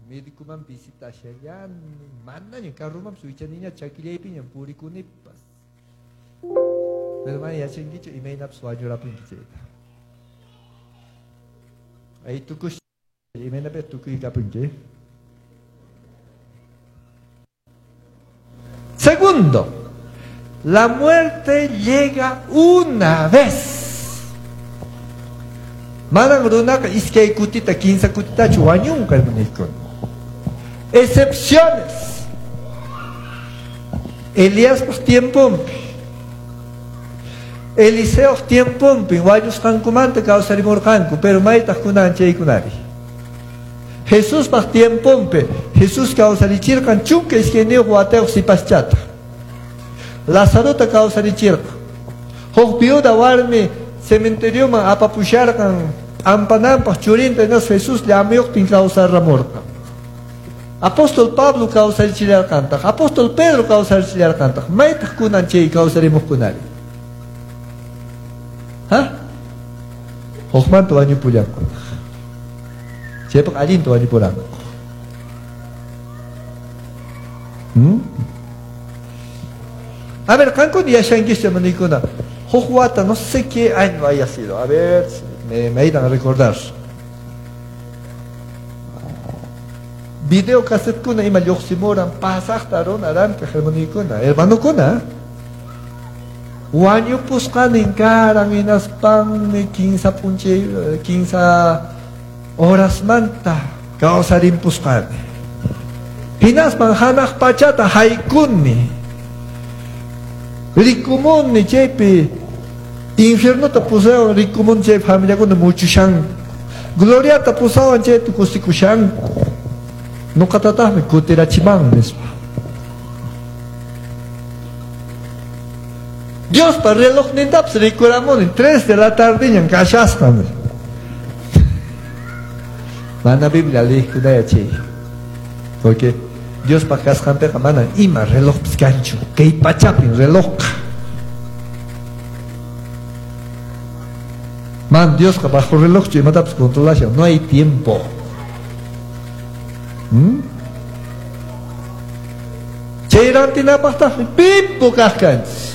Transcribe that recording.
Médicoman visitashallani, manaña carromanpas wichaniña chakillaypiña purikunipas. Pero mana yachankichu imaynapas wañurapunki chayta. Ahí tukush imaynapi tukuykapunki. Segundo, la muerte llega una vez. Manan runaqa iskay kutita, kinsa kutitachu wañunqa, hermanykuna. Excepciones. Eliaspaq tiemponpi, Eliseoq tiemponpi wañusqankumanta kawsarimurqanku, pero maytaq kunan chaykunari. Jesuspaq tiemponpi Jesús kawsarichirqan 12 watayuq sipaschata. Lazarota kawsarichirqan. Huk viuda warmi cementerioman apapusharqan p'ampananpaq churinta hinaspa Jesús llamuyuqtin kawsaramurqan. Apóstol Pablo kawsarichillarqantaq, Apóstol Pedro kawsarichillarqantaq. Maytaq kunan chay kawsarimuqkunari? Ha? Hukmanta wañupullankunaq. Chaypaq allinta wañupuranku. A ver, qankuna yashankischu, hermanykuna. Huk wata, no sé qué año haya sido. A ver, me ayudan a recordar. Video cassetkuna ima lluqsimuran pasaqta runa rantiq, hermanykuna, hermanukuna. Wañupusqanin karan hinaspanmi kinsa p'unchay, kinsa horasmanta kawsarimpusqani. Hinaspan hanaq pachata haykuni. Rikumuni chaypi infiernota pusawan rikumuni chay familiakuna muchushanku. Gloriata pusawan chaypi kusikushanku. Nuqatataqmi kutirachiman nispa. Diospa relojnintapas rikuramuni 3 de la tardeñan kashasqa. Mana Biblia liqkunaya chay. Porque Diospa kasqanpiqa manan ima relojpis kanchu. Kay pachapin relojqa. Man Diosqa bajo relojchu imatapas controlashan. No hay tiempo. Chay rantinapaqtaqmi pimpu kaq kanchis.